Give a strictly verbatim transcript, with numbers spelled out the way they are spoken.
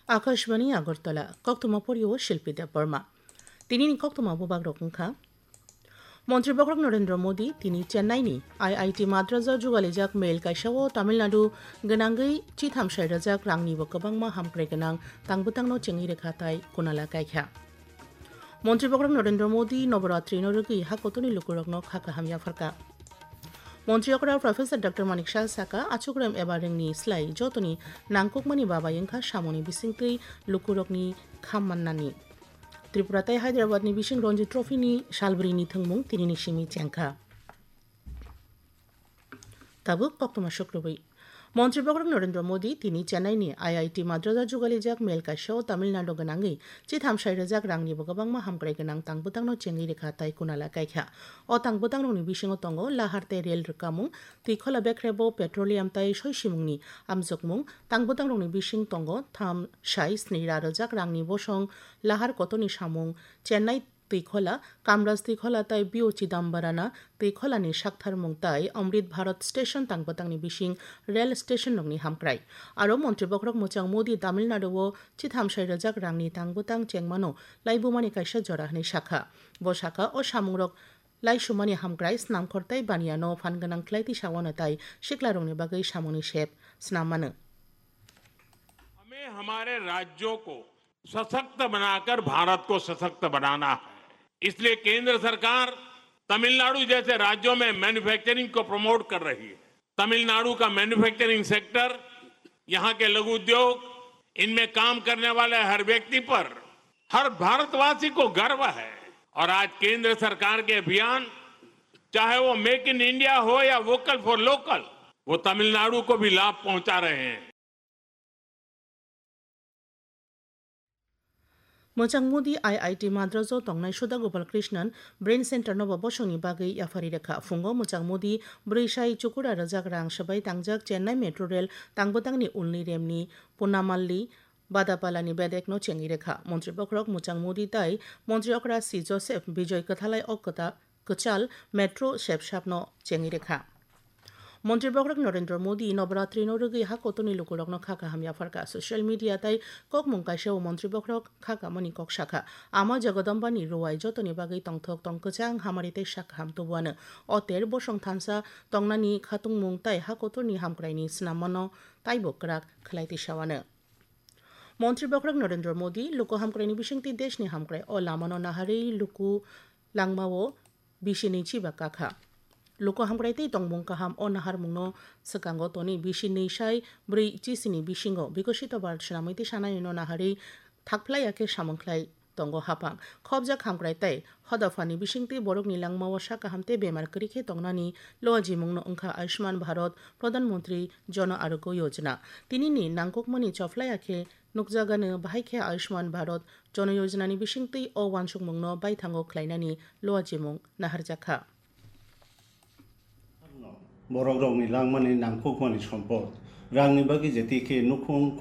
Akashbani Agartala, koktwma porio Shilpi Debbarma. Tinini koktwma bubagrok wngkha. Montri Bokhorok Narendra Modi tini Chennai ni I I T Madras o jugalijak mail kaisa o Tamil Nadu gwnangwi chitham sai rwjak rangni bo kwbangma hamkrai gwnang tangbwtangno chengwi rwkha tai kunala kaikha. Montri Bokhorok Narendra Modi Noboratri no rwgwi ha kotorni lukurokno kha kaham yapharkha. Montri okra Professor Doctor Manik Saha saka, achukrem eba rengni slai jotoni nangkukmani babai wngkha samungni bisingtwi lukurokni kham mannani. Tripura tai Hyderabad ni bising Ranji Trophy ni salbrini thwngmung tinini simi chengkha. Tabuk koktwma sukrubwi. Montri Bokhorok Narendra Modi tini Chennai ni I I T Madras o jugalijak mail kaisa o Tamil Nadu gwnangwi chitham sai rwjak rangni bo kwbangma hamkrai gwnang tangbwtangno chengwi rwkha tai kunala kaikha. O tangbwtangrokni bisingo tongo lahar tei rel rwkamung, twikhola bekrebo petroleum tai soisimungni amjokmung, tangbwtangrokni bising tongo tham sai sni ra rwjak rangni bosong, lahar kotorni samung, Chennai twikhola, Kamraj twikhola tai B O Chidambarana twikholani saktharmung tai Amrit Bharat Station tangbwtangni bising rel station rokni hamkrai. Aro Montri Bokhorok Mwchang Modi Tamil Nadu o chitham sai rwjak rangni tangbwtang chengmano laibumani kaisa jora hwnwi sakha. Bo sakha, o samungrok laisumani hamkrai, snamkhor tai baniano phan gwnang khlai twi sawano tai siklarokni bagwi samungni sep snam mano. हमें हमारे राज्यों को सशक्त बनाकर भारत को सशक्त बनाना है। इसलिए केंद्र सरकार तमिलनाडु जैसे राज्यों में मैन्युफैक्चरिंग को प्रमोट कर रही है। तमिलनाडु का मैन्युफैक्चरिंग सेक्टर, यहाँ के लघु उद्योग, इनमें काम करने वाले हर व्यक्ति पर, हर भारतवासी को गर्व है। और आज केंद्र सरकार के अभियान, चाहे वो मेक इन इंडिया हो या वोकल फॉर लोकल, वो तमिलनाडु को भी लाभ पहुंचा रहे हैं। Mwchang Modi I I T Madras o tongnai Sudha Gopal Krishnan Brain Center no bo bosongni bagwi yaphari rwkha. Phungo Mwchang Modi brwi sai chukura rwjak rang swbai tangjak Chennai Metro Rail tangbwtangni ulni remni Punamalli Badapalani bedekno chengwi rwkha. Montri Bokhorok Mwchang Modi tai Montri okra C Joseph Bijoy kwthalai o kwta kwchal metro sepsapno chengwi rwkha. Montri Bokhorok Narendra Modi Noboratri no rwgwi ha kotorni lukurokno kha kaham yapharkha. Social media tai kokmung kaisa o Montri Bokhorok kha kamani kok sakha. Ama Jagadambani ruwai jotoni bagwi tongthok tong kwchang hamari tei sak kaham tubuano. O ter bosong thansa tongnani khatungmung tai ha kotorni hamkraini snamano taibo kwrak khlai tisawano. Montri Bokhorok Narendra Modi luku hamkraini bisingtwi deshni hamkrai o lamano naharwi luku langmao bisi nwi chiba kakha. Luku hamkrai tei tongmung kaham o naharmungno swkango toni bisi nwi sai brwi chisini bisingo Bikosito Bharat swnamwi tisanaino naharwi thakphlaiya khe samung khlai tongo hapang. Khopjak hamkrai tei hodaphani bisingtwi borokni langmao sak kaham tei bemar kwrwi khe tongnani luajimungno wngkha Ayushman Bharat Pradhan Mantri Jan Arogya Yojana. Tinini nangkukmani chophlaiya khe nukjagano, bahai khe Ayushman Bharat Jan Yojana ni bisingtwi o uansukmungno baithango khlainani luajimung naharjakha. Borokrokni langmani nangkukmani sompot, rangni bagwi je twi khe nukhung